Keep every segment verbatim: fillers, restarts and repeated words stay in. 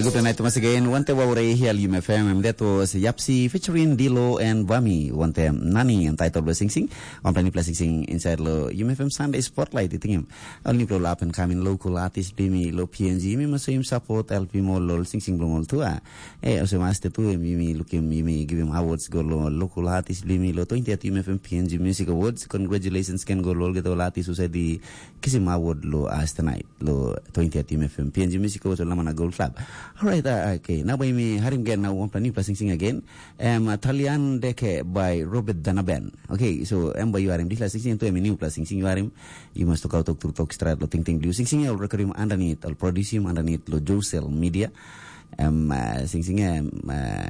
Good night once again. Wante wa ure hial U M F M. That was Yapsi featuring Dilo and Bami. Wante nani and title was sing sing. One plan plus sing sing inside lo U M F M Sunday Spotlight. Itingim. Only pro up and coming local artist bimi lo P N G. Mi maso im support help him all lo sing sing blong all tua. Eh, also master tu mi mi look him mi mi give him awards go lo local artist bimi lo twentieth U M F M P N G Music Awards. Congratulations can go lo get all artist who said the kisim award lo as tonight. Lo twentieth U M F M P N G Music Awards lo mana Gold Club. Alright, uh, okay. Now by me harim again now one plan new plus sing sing again. Um, Italian Deke by Robert Danaben. Okay, so em by you are him. This last sing sing to em new plus sing sing you are him. You must talk out talk through talk straight lo ting ting blue sing sing all record him underneath. I'll produce him underneath lo Josel Media. Um, uh, sing sing um, uh,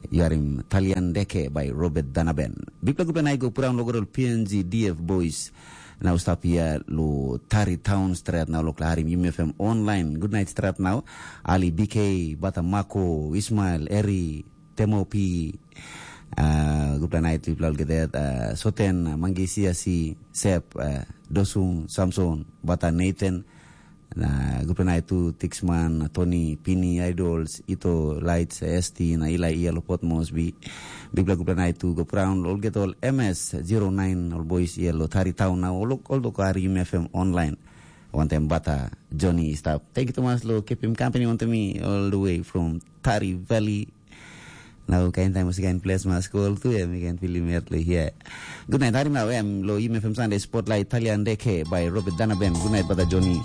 you are him Italian Deke by Robert Danaben. Big plug up and I go put down logo P N G D F boys. Now stop here lo Tari Town Strat now lo klaharim U M F M online. Good night Strat now. Ali B K, Bata Mako, Ismail, Eri, Temo P. Uh, good night people all get that. Uh, Soten, Mangi Siasi, Sep, uh, Dosung, Samson, Bata Nathan. Na good night to Tixman, Tony, Pini, Idols, Ito, Lights, S T, na Ila Ia Lopot Mosby. Big gupla night to go around all get all M S zero nine all boys ia lo Tari Town na all all do kari U M F M online. One time bata Johnny stop. Thank you Thomas lo keep him company on to me all the way from Tari Valley. Now kain time was again place mas call to him again film here. Good night. Harim now em lo U M F M Sunday Spotlight Italian Deke by Robert Danaben. Good night bata Johnny.